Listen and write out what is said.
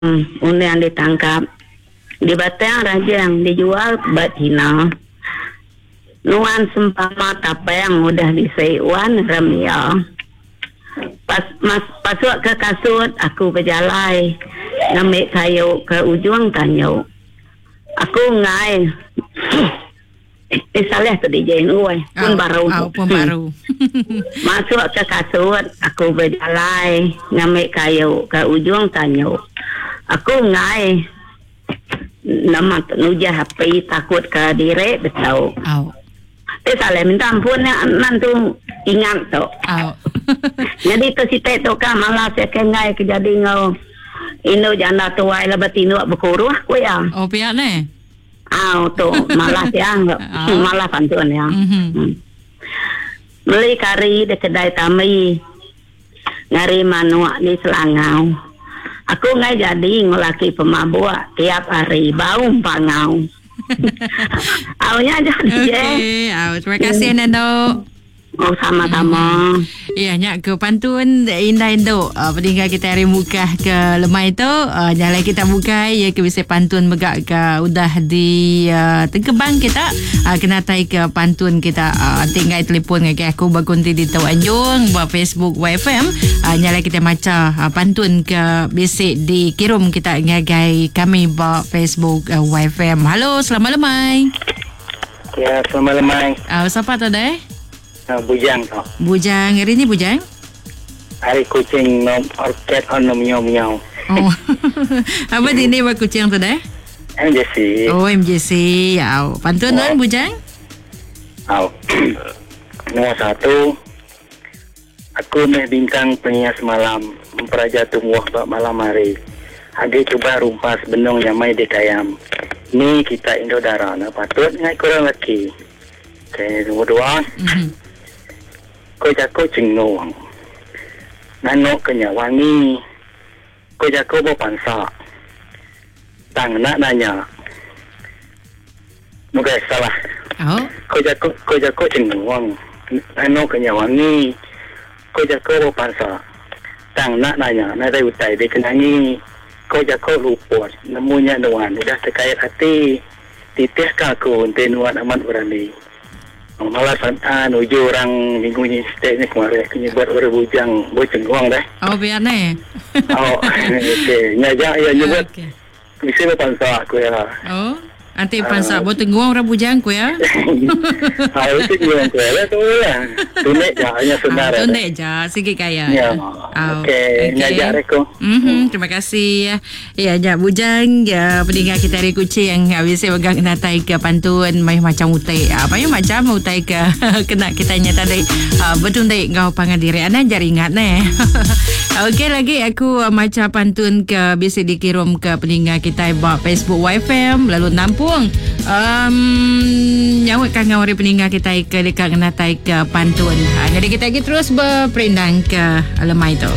Undang ditangkap di Batang Rajang dijual ba China. Nuan sempama tapang udah bisi wan rem iya. Pas mas pasuk ke kasut aku bejalai ngambi kayu ke ujung tanju. Aku enggai Eh salah tu DJ oi pun baru tu. Pun baru. Masuk ke kasut aku bejalai ngambi kayu ke ujung tanju. Aku enggai Nama tu nujah api takut ke diri betu. Au. Ti salah minta ampun nya nan tu ingat tu. Au. Nyadi tu siti tu ka malas iya ke enggai ke jadi enggau indu janda tuai laban tinduk bekuruh ku iya. Oh pia neh. Au tu malas iya malas pantun iya. Mm-hmm. Meli kari di kedai tambi. Ngari manuk di Selangau. Aku enggai jadi enggau laki pemabuk tiap hari bau empangau. Au nya aja DJ. Okey, au terima kasih Nando. Oh sama-sama. Ya nya ke pantun indai endu uh, peninggal kita hari mukah ke lemai tu uh, nyalai kita bukai ya ke bisa pantun mega ke udah di uh, tengkebang kita uh, kena tai ke pantun kita uh, enti enggai telefon ngagai aku ba kunti ditu anjung ba Facebook YFM uh, nya alai kita macha uh, pantun ke bisi dikirum kita ngagai kami ba Facebook uh, YFM. Halo, selamat lemai. Ya, selamat lemai. Sapa tu deh? Bujang tu. Bujang, hari ni Bujang? Hari kucing nom orked on nom miau miau. Oh. Apa dini ba kucing tu deh? MJC. Oh MJC. Au. Pantun tuan Bujang? Au. Nombor satu. Aku meh bintang pengias malam memperaja tumbuh ba malam hari. Agi cuba rumpas benung nyamai dikayam. Ni kita indu dara ne patut ngai kurang laki. Okey, nombor dua. Mm-hmm. Ko jako chengung. Nganu ke nya wangi. Ko jako ba pansa. Tang enda nanya. Bukai salah. Oh. Ko jako ko jako chengung. Nganu ke nya wangi. Ko jako ba pansa. Tang enda nanya nadai utai dikenangi. Ko jako luput nemu nya nuan udah tekait ati. Titihka aku enti nuan amat berani. Malas ah nuju orang minggu nyin siti nya kemari aku nyebut orang bujang bechenggung deh. Oh pia neh. Oh okey nya aja iya nyebut. Okey. Bisi ba pansa ku iya. Oh. Anti pansa uh, betenggung orang bujang ku iya. Ha itu dia ku iya tu lah. Tunik ja nya senar. Ah, tunik ja sigi gaya. Ya. Okey, nya aja aku. Mhm, terima kasih. Ya nya bujang ya peninga kita ari Kuching bisi mega ngenatai ke pantun mayuh macam utai. Ah mayuh macam utai ke kena kita nya tadi ah, betundi enggau pangan diri. Anang jar ingat neh. Okey lagi aku macha pantun ke bisi dikirum ke peninga kita ba Facebook YFM lalu nampung um, nyaut kangau ari peninga kita ke deka ngenatai ke pantun. Ha, jadi kita lagi terus berperindang ke lemai tu.